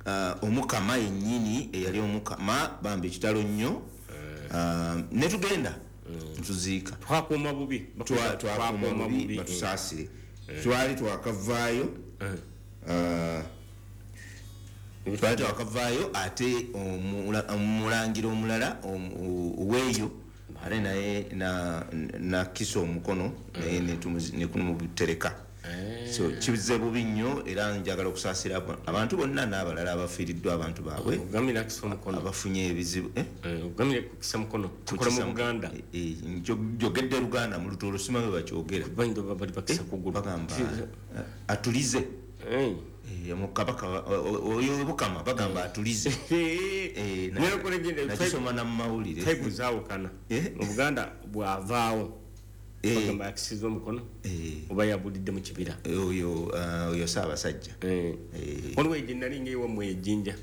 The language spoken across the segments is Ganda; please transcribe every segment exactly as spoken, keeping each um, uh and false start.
uh, omukama yennyini eyali omukama, bambi kitalo nnyo. Uh, ne tugenda tuziika. Twakuuma bubi. Twa- twakuuma bubi, batusaasire. Twali twakavaayo, uh, twali twakavaayo ate omula- omulangira omulala omu- oweeyo ate naye na- nakisa omukono, naye netumuzi- nekumutereka. So kize bubi nnyo, era njagala okusaasira abo- abantu bonna n'abalala abafiiriddwa abantu baabwe, Ogamira akisa omukono. abafunye ebizibu, eh? Eh, ogamira kukisa mukono tukola mu Kukisa- Buganda. Eh, eh, njo- njogedde Luganda, mu Lutoolo simanyi bwe bakyogera. Bayinza oba bali bakisa kugulu. Bagamba eh, atulize. Eh. Eh, mu kabaka wa- o- o- oyo Bukama bagamba atulize. Eh, na- Naye okola gye- nakisoma na mu mawulire. Type zaawukana. Eh? Mu Buganda bw'avaawo Eh. bagamba yakisiza omukono Eh, oba yabulidde mu kibira. Oyo ah, oyo Ssaabasajja. Eh. Eh. Waliwo egye nali ngaewammwe ejjinja.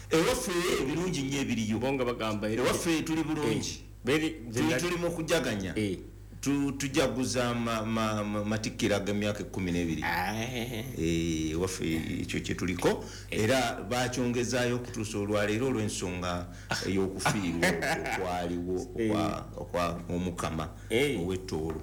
Ewaffe ebirungi nnyo ebiriyo. Bo nga bagamba era- Ewaffe tuli bulungi. Beri- Tuli- tuli mu kujaganya. Eh. Tu- tujaguza ma- ma- ma- matikkira g'emyaka ekkumi n'ebiri. Eh, ewaffe ekyo kyetuliko, era bakyongezaayo okutuusa olwaleero olw'ensonga ey'okufiirwa okwaliwo okwa- okwa omukama Eh. ow'ettoolo.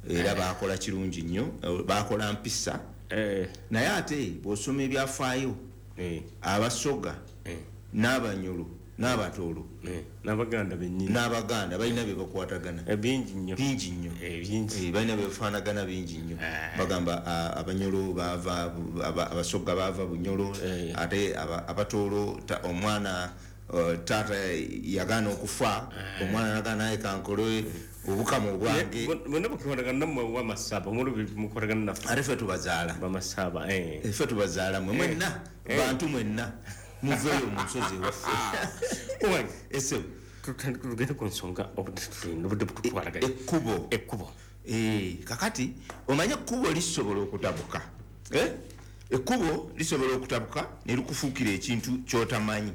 Era bakola kirungi nnyo, eh, bakola mpisa. Eh. Naye ate bw'osoma ebyafaayo, Eh. Abasoga Eh. n'Abanyolo n'Abatoolo Eh. n'Abaganda bennyini n'Abaganda balina bye bakwatagana. Eh, bingi nnyo. Bingi nnyo. Eh, bingi. Eh, balina byebafaanagana bingi nnyo. Bagamba ah, Abanyolo bava, aba- Abasoga bava Bunyolo. Eh. Ate aba- Abatoolo ta- omwana eh, taata yagaana okufa, omwana nagaana, naye kankole obukama obwange. Bonna bukikolagana nammwe wamasaba omulubi mukolagana naffe. Ate ffe tubazaala. Bamasaba, eh. Ffe tubazaala mwe mwenna, bantu mwenna muveeyo mu nsozi ewaffe. Owange, ese tutandike tugende ku nsonga, obudde tulina, obudde bututwalaganya. Ekkubo. Ekkubo. Eh, kakati omanye ekkubo lisobola okutabuka. Eh? Ekkubo lisobola okutabuka ne likufuukira ekintu kyotamanyi.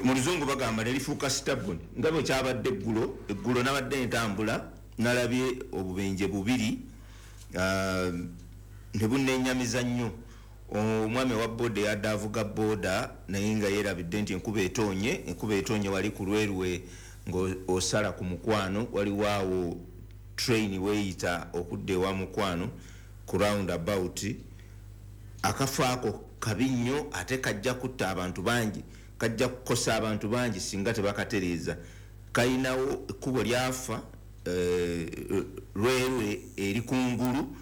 Mu Luzungu bagamba ne lifuuka stubborn, nga bwe kyabadde eggulo. Eggulo nabadde ntambula, nalabye obubenje bubiri, ah, ne bunnenyamiza nnyo. Omwami owa boda yadde avuga boda, naye nga yeerabidde nti enkuba etoonye. Enkuba etoonye wali ku Lwerwe ng'osala ku Mukwano, waliwo awo train weeyita okudda ewa Mukwano ku round about. Akafo ako kabi nnyo, ate kajja kutta abantu bangi, kajja kukosa abantu bangi singa tebakatereeza. Kalinawo ekkubo lyafa, eh, Lwerwe eri kungulu.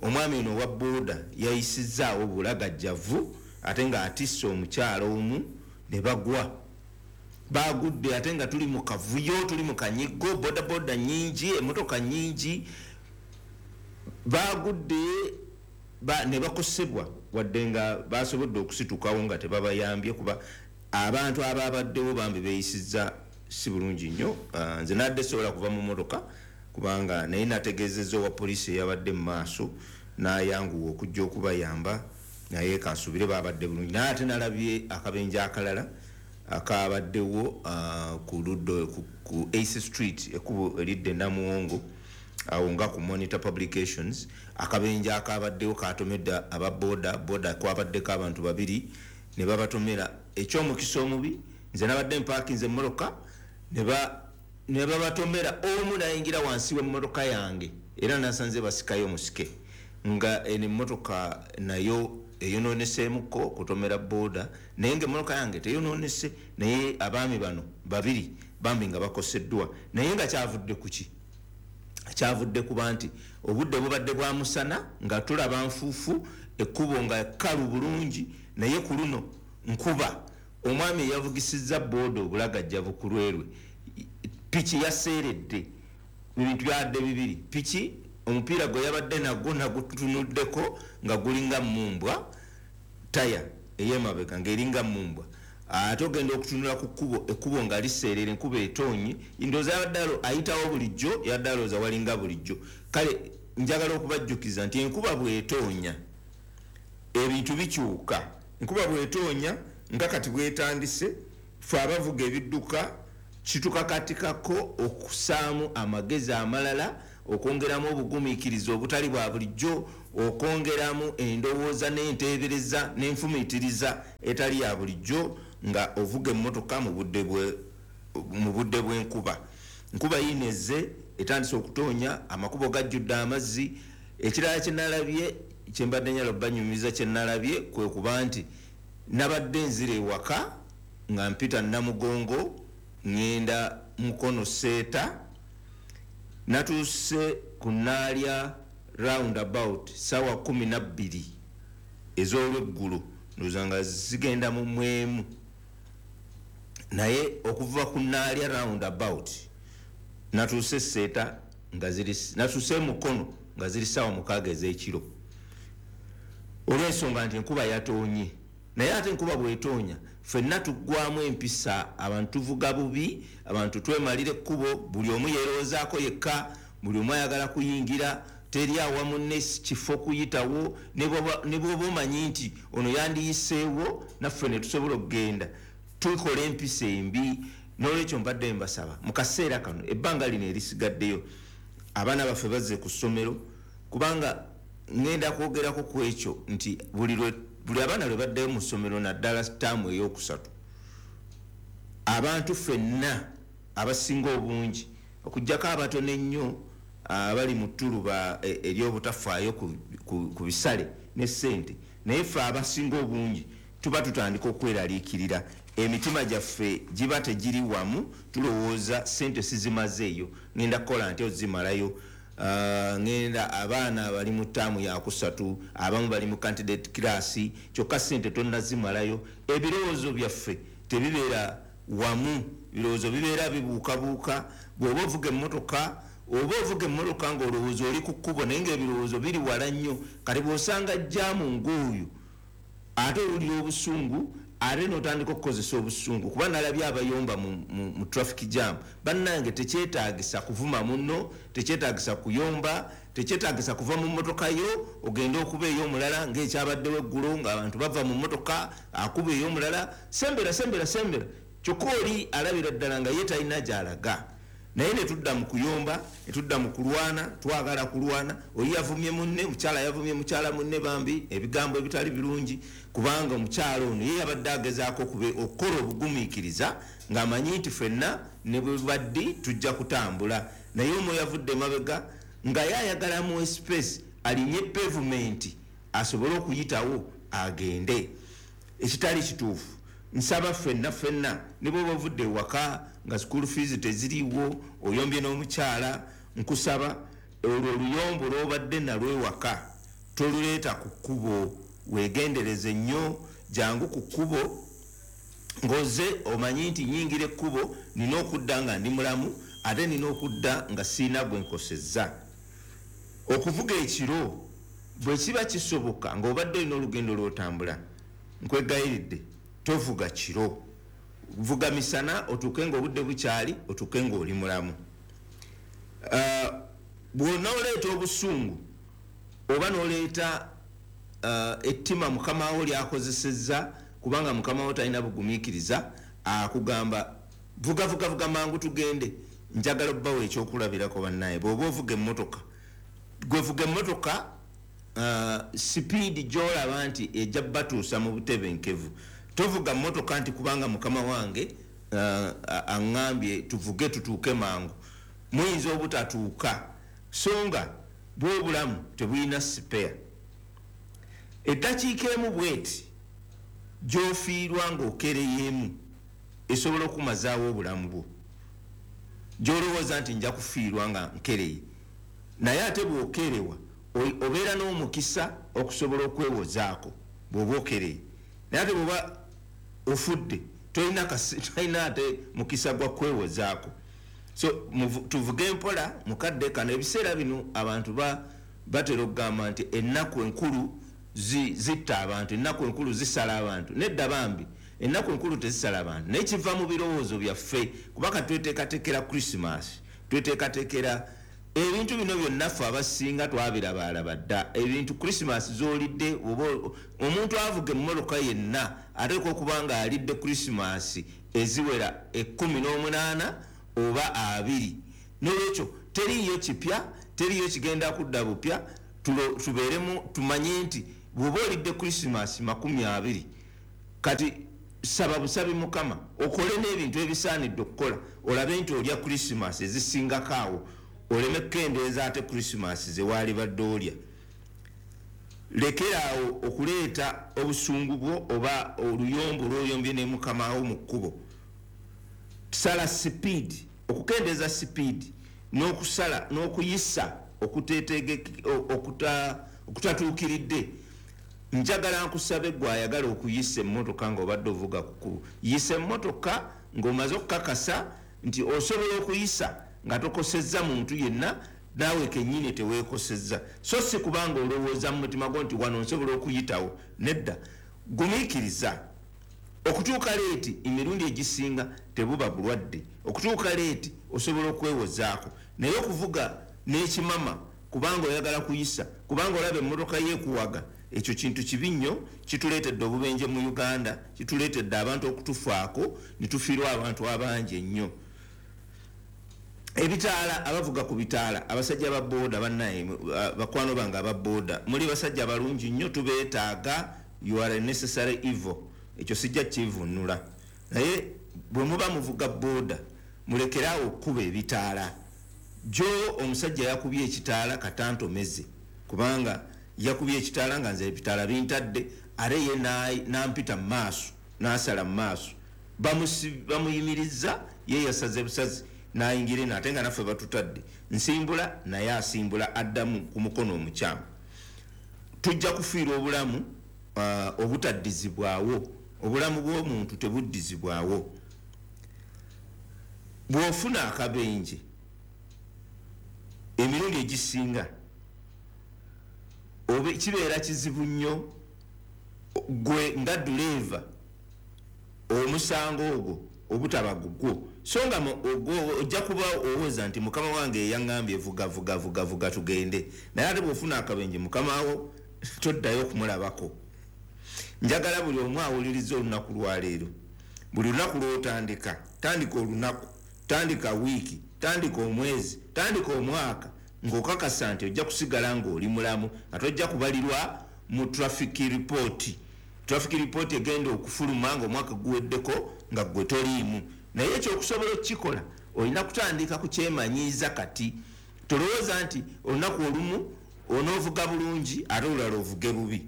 Omwami ono owa boda yayisizaawo bulagajjavu, ate ng'atisse omukyalo omu ne bagwa. Bagudde ate nga tuli mu kavuyo, tuli mu kanyigo, bodaboda nyingi, emotoka nyingi. Bagudde ba, ne bakosebwa, wadde nga basobodde okusitukawo nga tebabayambye, kuba abantu ababaddewo bambi beeyisizza si bulungi nnyo. Ah, nze nadde sobola kuva mu motoka kubanga naye nategeezezza owa poliisi eyabadde mu maaso, n'ayanguwa okujja okubayamba, naye kansubire babadde bulungi. Naye ate nalabye akabenje akalala akabaddewo, ah, ku luddo ku, ku Ace Street, ekkubo eridda e Namuwongo awo nga ku Monitor Publications. Akabenje akabaddewo katomedde aba boda boda, kwabaddeko abantu babiri ne babatomera. Ekyomukisa omubi, nze nabadde mpakinze emmotoka, ne ba- ne babatomera, omu nayingira wansi w'emmotoka yange, era nasanze basikayo omusike, nga eno emmotoka nayo eyononeseemuko kutomera boda, naye nga emmotoka yange teyononese. Naye abaami bano babiri bambi nga bakoseddwa. Naye nga kyavudde ku ki? Kyavudde kuba nti obudde bubadde bwa musana, nga tulaba nfuufu, ekkubo nga kkalu bulungi, naye ku luno nkuba. Omwami eyavugisizza booda obulagajjavu ku Lwerwe, piki yaseeredde, ebintu byadde bibiri. Piki omupiira gwe yabadde nagwo nagutunuddeko nga gulinga mumbwa, taya ey'emabega ng'eringa mumbwa. Ate ogenda okutunula ku kkubo, ekkubo nga liseerera, enkuba etoonye. Ndowooza yabadde alo- ayitawo bulijjo, yabadde alowooza walinga bulijjo. Kale njagala okubajjukiza nti enkuba bw'etoonya ebintu bikyuka. Enkuba bw'etoonya nga kati bwetandise, fe abavuga ebidduka kitukakatikako okusaamu amagezi amalala, okwongeramu obugumiikiriza obutali bwa bulijjo. okwongeramu endowooza n'enteebereza n'enfumiitiriza etali ya bulijjo nga ovuga emmotoka mu budde bwe mu budde bw'enkuba. Nkuba yineze etandise okutonya, amakubo gajjudde amazzi. Ekirala kye nalabye kye mbadde njagala obbanyumiza kye nalabye kwe kuba nti nabadde nzira ewaka nga mpita Namugongo ŋŋenda Mukono Seeta, natuuse ku Naalya roundabout ssaawa kkumi na bbiri ez'olweggulo, ndowooza nga zigenda mu mwemu, naye okuva ku Naalya roundabout natuuse Seeta nga ziri, natuuse Mukono nga ziri ssaawa mukaaga ez'ekiro, olw'ensonga nti enkuba yatoonye. Naye ate enkuba bw'etoonya ffenna tuggwamu empisa, abantu tuvuga bubi, abantu twemalira ekkubo, buli omu yeerowoozaako yekka, buli omu ayagala kuyingira, teri awa munne kifo kuyitawo, ne bw'oba omanyi nti ono yandiyiseewo naffe ne tusobola okugenda, tukola empisa embi. N'olwekyo mbadde mbasaba mu kaseera kano ebbanga lino erisigaddeyo abaana baffe bazze ku ssomero, kubanga ŋŋenda kwogerako ku ekyo nti buli lwe buli abaana lwe baddayo mu ssomero naddala ttaamu ey'okusatu, abantu ffenna abasinga obungi okuggyako abatono ennyo abali mu ttuluba ery'obutafaayo ku bisale ne ssente, naye ffe abasinga obungi tuba tutandika okweraliikirira, emitima gyaffe giba tegiri wamu, tulowooza ssente sizimazeeyo, ŋŋenda kukola ntya ozimalayo. Ŋŋenda abaana bali mu ttaamu yakusatu, abamu bali mu candidate class, kyokka ssente tonnazimalayo. Ebirowoozo byaffe tebibeera wamu, ebirowoozo bibeera bibuukabuuka. Bw'oba ovuga emmotoka, oba ovuga emmotoka ng'olowooza oli ku kkubo naye ng'ebirowoozo biri wala nnyo. Kati bw'osanga jjaamu ng'oyo ate owulira obusungu, ate n'otandika okukozesa obusungu, kuba nalabye abayomba mu, mu, mu traffic jam. Bannange tekyetaagisa kuvuma munno, tekyetaagisa kuyomba, tekyetaagisa kuva mu mmotoka yo ogende okuba ey'omulala ng'ekyabaddewo eggulo ng'abantu bava mu mmotoka akuba ey'omulala, sembera sembera sembera, kyokka oli alabira ddala nga ye talina gy'alaga. Naye ne tudda mu kuyomba, ne tudda mu kulwana, twagala kulwana. Oli yavumye munne, mukyala yavumye mukyala munne, bambi ebigambo ebitali birungi, kubanga omukyala ono ye yabadde agezaako okukola obugumiikiriza ng'amanyi nti ffenna ne bwe baddi tujja kutambula, naye omu yavudde emabega nga ye ayagala mu space alinye pavement asobole okuyitawo agende, ekitali kituufu. Nsaba ffenna ffenna ne bw'oba ovudde ewaka nga school fees teziriiwo, oyombye n'omukyala, nkusaba olwo oluyombo lw'obadde nalwo ewaka toluleeta ku kkubo, weegendereze nnyo, jangu ku kkubo ng'ozze omanyi nti nnyingira ekkubo nina okudda nga ndi mulamu, ate nina okudda nga sirina gwe nkosezza. Okuvuga ekiro bwe kiba kisoboka ng'obadde olina olugendo lw'otambula, nkwegayiridde tovuga kiro, vuga misana otuuke ng'obudde bukyali, otuuke ng'oli mulamu. Bw'onooleeta obusungu oba n'oleeta ettima mukama wo ly'akozesezza, kubanga mukama wo talina bugumiikiriza, akugamba vuga vuga vuga mangu tugende. Njagala obbawo ekyokulabirako bannaye, bw'oba ovuga emmotoka, gwe vuga emmotoka sipiidi gy'olaba nti ejja batuusa mu butebenkevu. Tovuga mmotoka nti kubanga mukama wange aŋŋambye tuvuge tutuuke mangu, muyinza obutatuuka, so nga bw'obulamu tebulina sipeya. Eddakiika emu bw'eti gy'ofiirwa ng'okereyeemu esobola okumazaawo obulamu bwo, gy'olowooza nti nja kufiirwa nga nkereye, naye ate bw'okerewa obeera n'omukisa okusobola okwewozaako bw'oba okereye, naye ate bw'oba ofudde tolina tolina ate mukisa gwa kwewozaako. So tuvuge mpola mukadde kano. Ebiseera bino abantu batera okugamba nti ennaku enkulu zitta abantu, ennaku enkulu zisala abantu. Nedda bambi, ennaku enkulu tezisala abantu, naye kiva mu birowoozo byaffe, kubanga tweteekateekera Christmas, tweteekateekera ebintu bino byonna ffe abasinga twabirabaalaba dda. Ebintu Christmas z'olidde, oba omuntu avuga emmotoka yenna ateekwa okuba nga alidde Christmas eziwera ekkumi n'omunaana oba abiri. N'olwekyo teriiyo kipya, teriiyo kigenda kudda bupya. Tubeeremu tumanye nti bw'oba olidde Christmas makumi abiri, kati saba busabi Mukama okole n'ebintu ebisaanidde okukola, olabe nti olya Christmas ezisingako awo, oleme kukendeeza ate Christmas ze waali badde olya. Lekeraawo okuleeta obusungu bwo oba oluyombo lw'oyombye ne mukama wo mu kkubo. Sala sipiidi, okukendeeza sipiidi n'okusala n'okuyisa okutatuukiridde. Njagala nkusabe gwe ayagala okuyisa emmotoka ng'obadde ovuga ku kkubo, yisa emmotoka ng'omaze okukakasa nti osobola okuyisa nga tokosezza muntu yenna, naawe kennyini teweekosezza. So si kubanga olowooza mu mutima gwo nti wano nsobola okuyitawo. Nedda, gumiikiriza. Okutuuka leeti emirundi egisinga tebuba bulwadde. Okutuuka leeti osobola okwewozaako, naye okuvuga n'ekimama kubanga oyagala kuyisa, kubanga olaba emmotoka yeekuwaga, ekyo kintu kibi nnyo. Kituleetedde obubenje mu Uganda, kituleetedde abantu okutufaako ne tufiirwa abantu abangi ennyo. Ebitaala, abavuga ku bitaala, abasajja ba booda bannaye, bakwano bange aba booda, muli basajja balungi nnyo, tubeetaaga. You are a necessary evil, ekyo sijja kivunula. Naye bwe muba muvuga booda, mulekeraawo okkuba ebitaala. Jo omusajja yakubye ekitaala katantomeze, kubanga yakubye ekitaala nga nze ebitaala bintadde, ate ye nampita mu maaso, n'asala mu maaso, bamuyimiriza, ye yasaze busazi n'ayingira eno, ate nga naffe batutadde. Nsimbula naye asimbula addamu ku mukono omukyamu. Tujja kufiirwa obulamu uh, obutaddizibwawo. Obulamu bw'omuntu tebuddizibwawo. Bw'ofuna akabenje emirundi egisinga kibeera kizibu nnyo gwe nga duleeva omusango ogwo obutaba gugwo. So nga ojja kuba owoza nti mukama wange eyaŋŋambye vuga vuga vuga vuga tugende, naye ate bw'ofuna akabenje mukama wo toddayo okumulabako. Njagala buli omu awuliriza olunaku lwaleero, buli lunaku lw'otandika, tandika olunaku, tandika wiiki, tandika omwezi, tandika omwaka ng'okakasa nti ojja kusigala ng'oli mulamu, nga tojja kubalirwa mu traffic report. Traffic report egenda okufuluma ng'omwaka guweddeko nga ggwe toliimu. Naye ekyokusobola okukikola olina kutandika kukyemanyiiza kati. Tolowooza nti olunaku olumu onoovuga bulungi ate olulala ovuge bubi.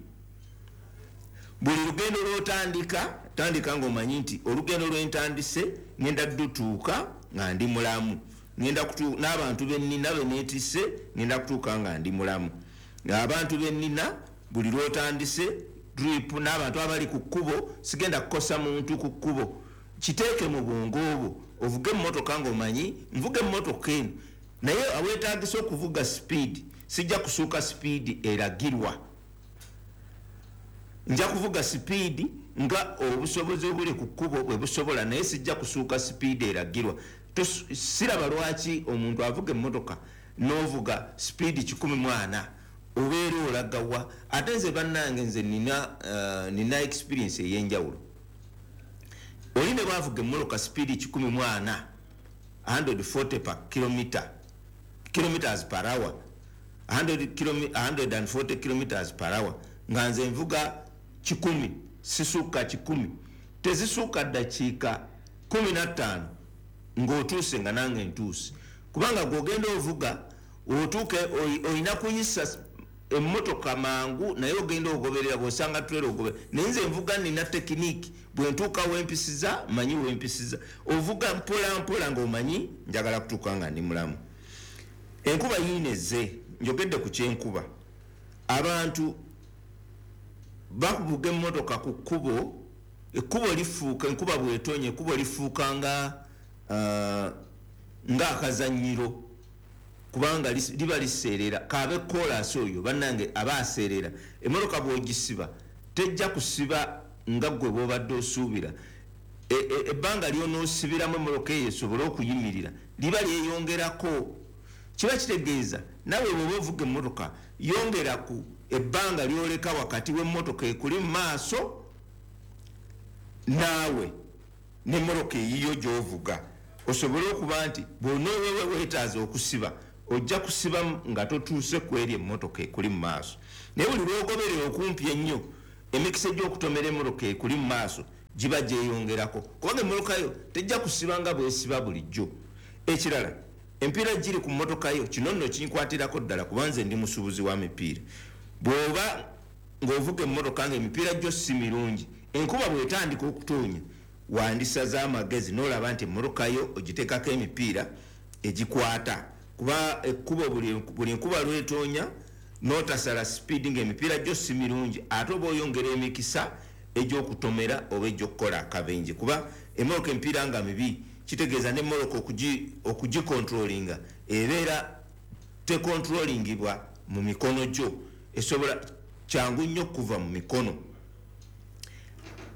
Buli lugendo lw'otandika, tandika ng'omanyi nti olugendo lwentandise ngenda ddutuuka nga ndi mulamu, ngenda n'abantu be nnina be neetisse ngenda kutuuka nga ndi mulamu. Abantu be nnina buli lw'otandise trip n'abantu abali ku kkubo, sigenda kukosa muntu ku kkubo. Kiteeke mu bwongo obwo, ovuge emmotoka ng'omanyi nvuga emmotoka eno, naye aweetaagisa okuvuga sipiidi, sijja kusuuka sipiidi eragirwa. Nja kuvuga sipiidi nga obusobozi obuli ku kkubo bwe busobola, naye sijja kusuuka sipiidi eragirwa. Siraba lwaki omuntu avuga emmotoka n'ovuga sipiidi kikumi mu ana obeera olagawa. Ate nze bannange nze nina uh, nina experience ey'enjawulo. Oli ne bwavuga emmotoka sipiidi kikumi mu ana, one forty per kilometer, kilometers per hour, one forty kilometers per hour, nga nze nvuga kikumi, sisuuka kikumi, tezisuuka ddakiika kumi na ttaano ng'otuuse nga nange ntuuse. Kubanga gw'ogenda ovuga otuuke olina kuyisa emmotoka mangu, naye ogenda ogoberera, bw'osanga turera ogoberera. Naye nze nvuga nina tekiniki, bwe ntuuka wempisiza manyi wempisiza. Ovuga mpola mpola ng'omanyi njagala kutuuka nga ndi mulamu. Enkuba yiineze, njogedde ku kyenkuba. Abantu bakuvuga emmotoka ku kkubo, ekkubo lifuuka, enkuba bw'etonnya ekkubo lifuuka nga uh, ng'akazannyiro, kubanga liba liseerera. Kaabe koolaasi oyo bannange aba aseerera. Emmotoka bw'ogisiba tejja kusiba nga ggwe bw'obadde osuubira. Ebbanga ly'onoosibiramu emmotoka eyo esobole okuyimirira liba lyeyongerako. Kiba kitegeeza nawe bw'oba ovuga emmotoka yongera ku ebbanga ly'oleka wakati w'emmotoka ekuli mu maaso naawe n'emmotoka eyiyo gy'ovuga, osobole okuba nti bw'onoowewe weetaaza okusiba ojja kusiba nga totuuse ku eri emmotoka ekuli mu maaso. Naye buli lw'ogoberera okumpi ennyo, emikisa egy'okutomera emmotoka ekuli mu maaso giba gyeyongerako, kubanga emmotoka yo tejja kusiba nga bw'esiba bulijjo. Ekirala, empiira giri ku mmotoka yo, kino nno kinkwatirako ddala kuba nze ndi musuubuzi wa mipiira. Bw'oba ng'ovuga emmotoka ng'emipiira gyo si mirungi, enkuba bw'etandika okutonya, wandisaze amagezi n'olaba nti emmotoka yo ogiteekako emipiira egikwata, kuba ekkubo buli nkuba lw'etoonya n'otasala sipiidi ng'emipiira gyo si mirungi, ate oba oyongera emikisa egy'okutomera oba egy'okukola akabenje. Kuba emmotoka emipiira nga mibi, kitegeeza n'emmotoka okugikontrolinga ebeera tekontrolingibwa mu mikono gyo, esobola kyangu nnyo okuva mu mikono.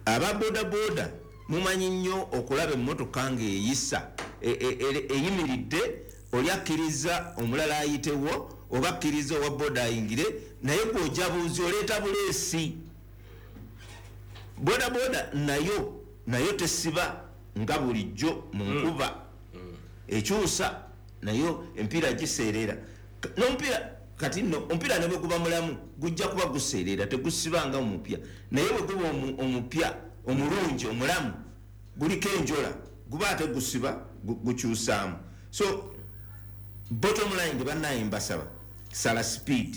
Aba bodaboda mumanyi nnyo okulaba emmotoka ng'eyisa eyimiridde, oli akkiriza omulala ayitewo oba akkiriza owa boda ayingire, naye gw'ojja buuzi oleeta buleesi. Bodaboda nayo nayo tesiba nga bulijjo mu nkuba, ekyusa nayo empiira giseerera. N'omupiira kati nno omupiira ne bwe guba mulamu gujja kuba guseerera, tegusiba nga omupya. Naye bwe guba omupya omulungi omulamu guliko enjola, guba ate gusiba gukyusaamu. So bottom line, bannaye mbasaba sala speed,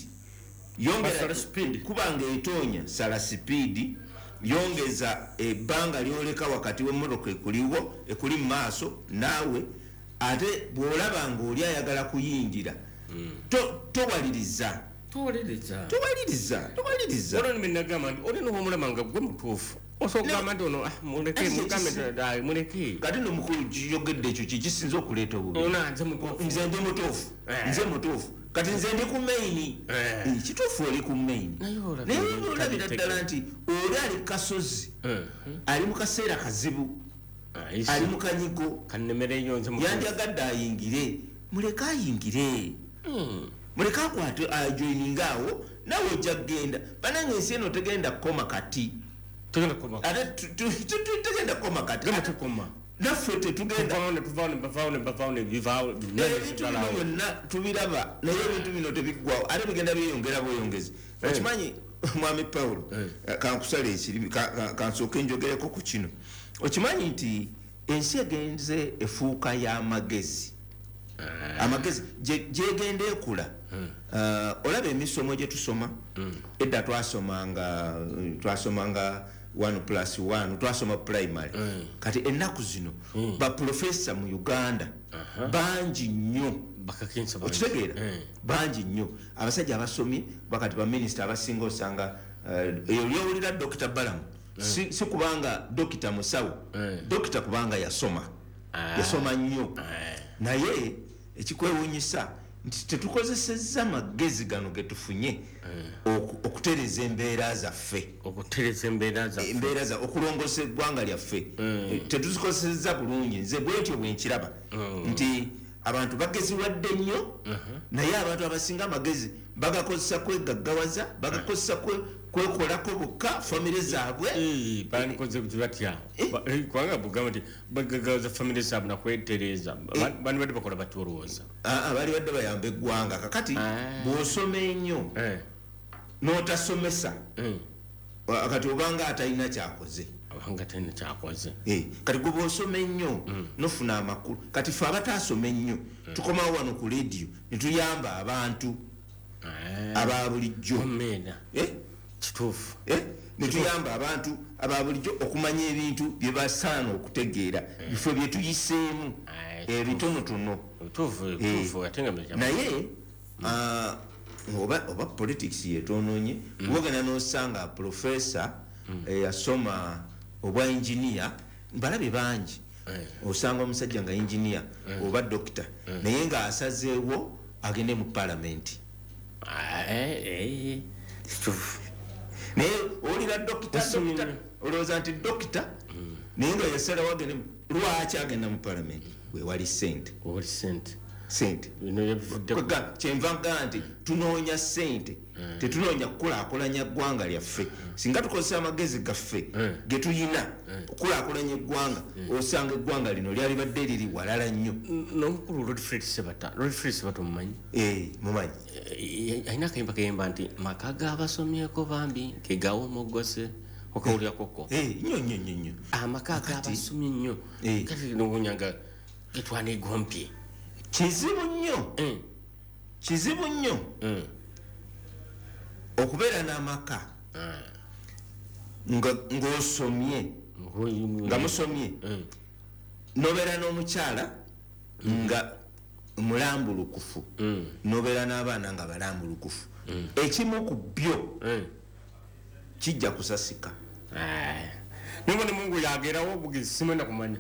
yongera kubanga etoonya, sala speed, yongeza ebbanga lyoleka wakati w'emmotoka ekuliwo ekuli mu maaso naawe. Ate bw'olaba ng'oli ayagala kuyingira, towaliriza towaliriza towaliriza. Olwo nagamba nti oli n'omulaba nga gwe mutuufu, osobola okugamba nti ono muleke, mugambe nti muleke. Kati nno mukulu kiyogedde ekyo kikisinza okuleeta obubi. Nze ndi mutuufu, nze mutuufu, kati nze ndi ku maini. Kituufu oli ku maini, naye olabira ddala nti oli ali kasozi, ali mu kaseera kazibu, ali mu kanyigo, yandyagadde ayingire. Muleke ayingire, muleke akwate ajoininga awo, nawe ojja kugenda. Bannange ensi eno tegenda kukoma kati, ate tegenda kukoma kati, naffe tetugenda. Ebintu bino byonna tubiraba, naye ebintu bino tebiggwawo, ate bigenda byeyongera bweyongezi. Okimanyi mwami Paulo, kankusala ekirimi, kansooke njogereko ku kino. Okimanyi nti ensi egenze efuuka y'amagezi, amagezi gyegenda ekula. Olaba emisomo gye tusoma edda, twasomanga twasomanga one plus one, twasoma primary. Kati ennaku zino baprofesa mu Uganda bangi nnyo, okitegeera, bangi nnyo abasajja abasomye. Bakati baminisita abasinga osanga oli owulira Dokita Balamu, si kubanga dokita musawo, dokita kubanga yasoma, yasoma nnyo. Naye ekikwewuunyisa nti tetukozesezza magezi gano ge tufunye okutereeza embeera zaffe, okutereeza embeera zaffe, embeera za okulongoosa eggwanga lyaffe, tetuzikozesezza bulungi. Nze bwentyo bwe nkiraba nti abantu bageziwadde nnyo, naye abantu abasinga amagezi bagakozesa kwegaggawaza, bagakozesa kwekolako bokka, famire zaabwe. Bandikoze batya? Kubanga bugamba nti bagaggawaza famire zaabwe nakwetereeza, bandibadde bakola batya olowooza? Bali badde bayamba eggwanga. Kakati bw'osoma ennyo n'otasomesa, kati obanga atalina kyakoze, abanga talina kyakoze. Kati gwe bw'osoma ennyo nofuna amakulu. Kati ffe abataasoma ennyo tukomawo wano ku leediyo ne tuyamba abantu aba bulijjo, kituufu, ne tuyamba abantu aba bulijjo okumanya ebintu bye basaana okutegeera, bifo bye tuyiseemu ebitonotono. Naye oba oba politics yetonoonye, wogenda n'osanga profesa eyasoma obwa engineer, mbalabe bangi, osanga omusajja nga engineer oba dokita, naye ng'asazeewo agende mu palamenti. Naye owulira dokita, dokita, olowooza nti dokita, naye nga yasalawo agende. Lwaki agenda mu palamenti? Wewali ssente, wewali ssente. Sente kyenva nga nti tunoonya sente, tetunoonya kukulaakulanya ggwanga lyaffe. Singa tukozesa amagezi gaffe ge tuyina okukulaakulanya eggwanga, osanga eggwanga lino lyalibadde liri walala nnyo. N'omukulu Rodfred Sebata, Rodfred Sebata omumanyi? Eh, mumanyi. Alina akayimba kayimba nti maka g'abasomyeko bambi ge gawomogose, okawulirako? Nnyo nnyo nnyo nnyo. Amaka g'abasomye nnyo kati nowonya nga getwanegompye. Kizibu nnyo, kizibu nnyo okubeera n'amaka ng'osomye, nga musomye, nobeera n'omukyala nga mulambulukufu, nobeera n'abaana nga balambulukufu. Ekimu ku byo kijja kusasika. Nibone Mungu yagerawo bugizi simwenda kumanya.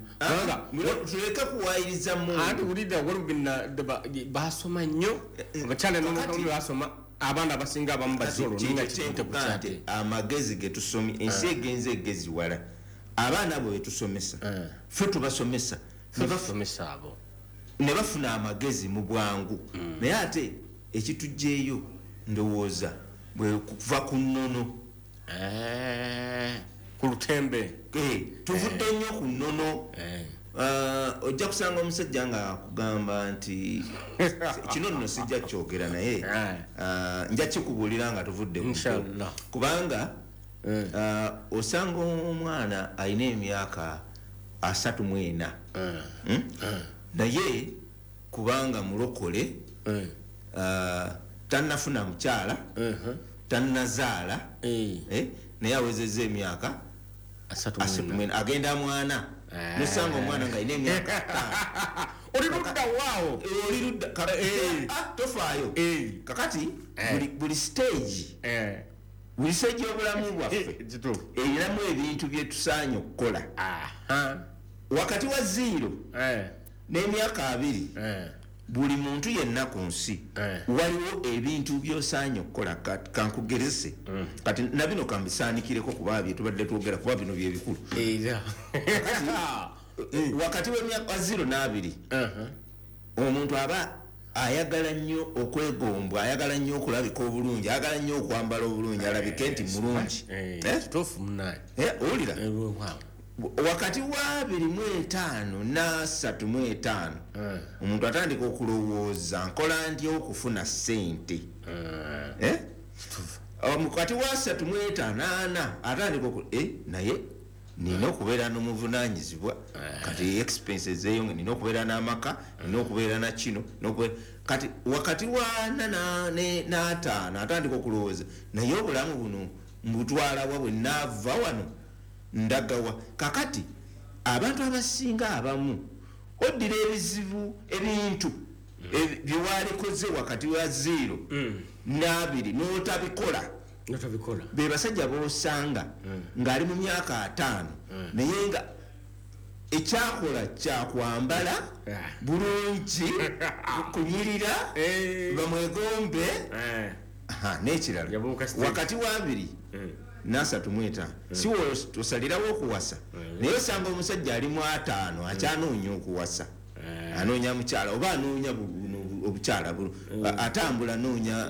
Tuleke kuwayiriza Mungu. Anti wulidde waliwo basoma nnyo, abakyala n'omukazi basoma, abaana abasinga abamu bazolo ninga kiyite ku kyate. Amagezi ge tusomye, ensi egenze egeziwala. Abaana abo be tusomesa, ffe tubasomesa, ne basomesa abo ne bafuna amagezi mu bwangu. Naye ate ekitujjeeyo ndowooza bwe kuva ku nnono. Ku lutembe. Tuvudde nnyo ku nnono. Ojja kusanga omusajja nga akugamba nti kino nno sijja kyogera, naye nja kikubuulira nga tuvudde ku Inshallah. Kubanga osanga omwana alina emyaka asatu mu ena, naye kubanga mulokole, tannafuna mukyala, tannazaala, naye awezezza emyaka asatu mu ena, agenda mwana. Nosanga omwana nga alina emyaka ttaano. Oli ludda waawo. Oli ludda tofaayo. Kakati buli stage, buli stage y'obulamu bwaffe erinamu ebintu bye tusaanye okukola. Wakati wa zero n'emyaka abiri, buli muntu yenna ku nsi waliwo ebintu by'osaanye okukola. Kankugerese kati na bino kambisaanikireko kuba bye tubadde twogera, kuba bino bye bikulu. Wakati w'emyaka zero n'abiri, omuntu aba ayagala nnyo okwegombwa, ayagala nnyo okulabika obulungi, ayagala nnyo okwambala obulungi, alabike nti mulungi. Owulira? Wakati wa abiri mu etaano n'asatu mu etaano, omuntu atandika okulowooza nkola ntya okufuna ssente. Wakati wa asatu mu etaano ana atandika naye nina okubeera n'omuvunaanyizibwa, kati expenses eyo nina okubeera n'amaka, nina okubeera na kino. Kati wakati wa ana n'ataano atandika okulowooza naye obulamu buno mbutwala wa bwe naava wano ndagawa. Kakati abantu abasinga abamu oddira ebizibu ebintu byewalikoze wakati wa zero n'abiri n'otabikola. Be basajja b'osanga ng'ali mu myaka ataano, naye nga ekyakola kyakwambala bulungi, kunyirira, bamwegombe. N'ekirala wakati wa abiri n'asatu mu etaano si osalirawo okuwasa, naye osanga omusajja ali mu ataano akyanoonya okuwasa, anoonya mukyala oba anoonya obukyala atambula anoonya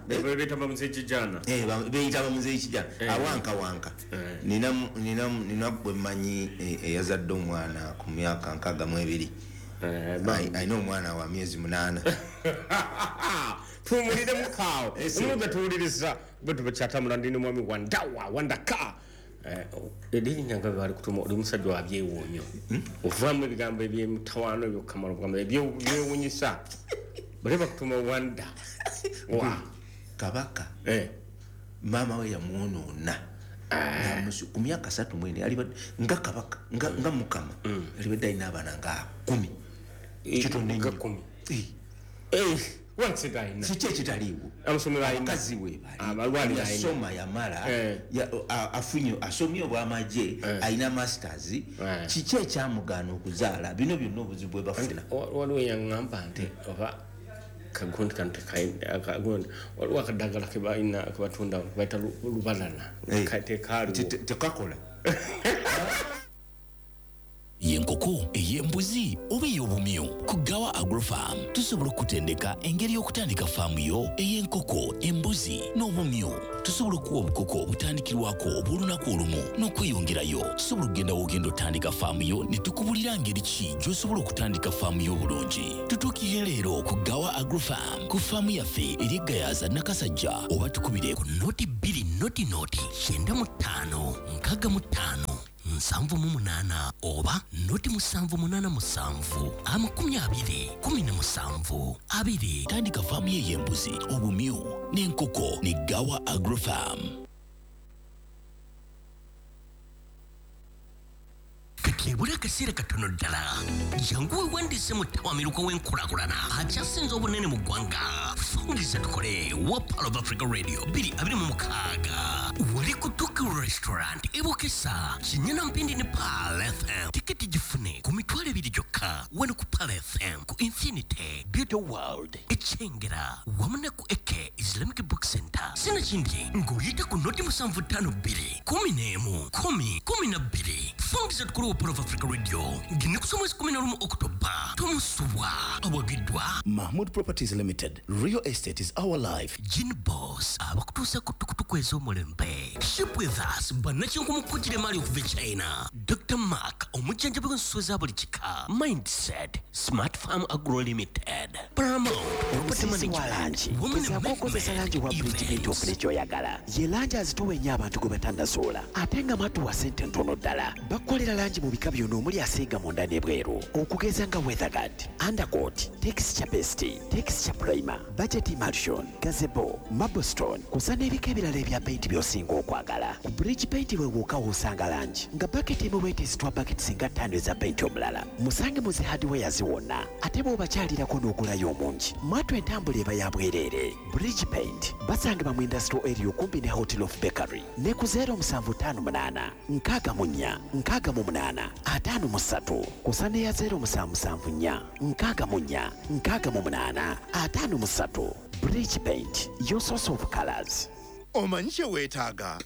beyita bamuzeeyi kijana awankawanka. Nina gwe mmanyi eyazadde omwana ku myaka nkaaga mu ebiri, alina omwana wa myezi munaana. Tuwulire mukaawo omuga tuwuliriza bwe tubakyatambula ndi n'omwami Wandawa Wandaka. Erinnya nga bali kutuma oli musajja wa byewuunyo, ovaamu ebigambo ebyemutawaano ebyokukamala obugamba ebyewuunyisa, bali bakutuma Wanda wa Kabaka. Maama we yamwonoona ku myaka asatu mu ena, nga kabaka nga mukama alibadde alina abaana nga kumi. Kitono nnyo. Kiki ekitaliiwo? Abakazi we bali yasoma yamala, afunye asomye obw'amagye, alina masters. Kiki ekyamugaana okuzaala? Bino byonna obuzibu bwe bafuna. Waliwo eyaŋŋamba nti oba kagundi kano tekagundi, waliwo akadagala ke balina ke batunda bayita lubalala, tekaaliwo tekakola. Y'enkoko, ey'embuzi oba ey'obumyu? Ku Gawa Agrofarm tusobola okutendeka engeri y'okutandika faamu yo ey'enkoko, embuzi n'obumyu. Tusobola okuwa obukoko obutandikirwako obw'olunaku olumu n'okweyongerayo. Tusobola okugenda w'ogenda otandika faamu yo ne tukubulira ngeri ki gy'osobola okutandika faamu yo obulungi. Tutuukirire leero ku Gawa Agrofarm ku faamu yaffe eri Gayaza Nakasajja, oba tukubire ku noti bbiri noti noti kyenda mu ttaano nkaaga mu ttaano nsanvu mu munaana oba noti musanvu munaana musanvu amakumi abiri kumi na musanvu abiri. Tandika faamu ye ey'embuzi, obumyu n'enkoko ne Gawa Agrofarm. Kati ebula akaseera katono ddala, jangu weewandiise mu ttawamiruka w'enkulaakulana akyasinze obunene mu ggwanga. Fungiza tukole wa Pearl of Africa Radio bbiri abiri mu mukaaga wali ku Tuku Restaurant e Bukesa, Kinyana Mpindi ne Pearl F M. Tiketi gifune ku mitwalo ebiri gyokka wano ku Pearl F M, ku Infinity Beauty World e Kyengera wamu ne ku Eke Islamic Book Center. Sinakindi ng'oyita ku noti musanvu ttaano bbiri kumi n'emu kumi kumi na bbiri. Fungiza tukole wa Pearl of Africa Radio ng'ennaku z'omwezi kumi na lumu Oktoba. Tomusubwa. Awagiddwa Mahmood Properties Limited. Real estate is our life. Gin Boss abakutuusa ku tukutuku ez'omulembe. Ship with us bannakinku mu kujjira emaali okuva e China. Doctor Mark omujjanjabi w'ensolo za buli kika. Mindset Smart Farm Agro Limited. Paramount Property Omusisi wa Management. langi Women gezaako okukozesa langi wa Bridge Paint ofune ky'oyagala. Ye langi azitowa ennyo abantu gwe batannasoola, ate nga matuwa ssente ntono ddala. Bakukolera langi mu bika byonna omuli asiiga munda n'ebweru, okugeza nga Weatherguard, Undercoat, Texture Paste, Texture Primer, Budget Emulsion, Gazebo, Marblestone, kusa n'ebika ebirala ebya paint by'osinga okwagala. Ku Bridge Paint we wokka w'osanga langi nga baketi emu bw'eteesitwa baketi singa ttaano eza paint omulala. Musange mu zi hardware wonna, ate bw'obakyalirako n'ogulayo omungi. Mwatu entambula eba ya bwereere. Bridge Paint basangibwa mu industrial area okumpi ne Hotel of Bakery ne ku zero musanvu ttaano munaana nkaaga mu nnya nkaaga mu munaana ataano mu ssatu kusa n'eya zero musanvu musanvu nnya nkaaga mu nnya nkaaga mu munaana ataano mu ssatu. Bridge Paint, your source of colors. Omanyi kye weetaaga?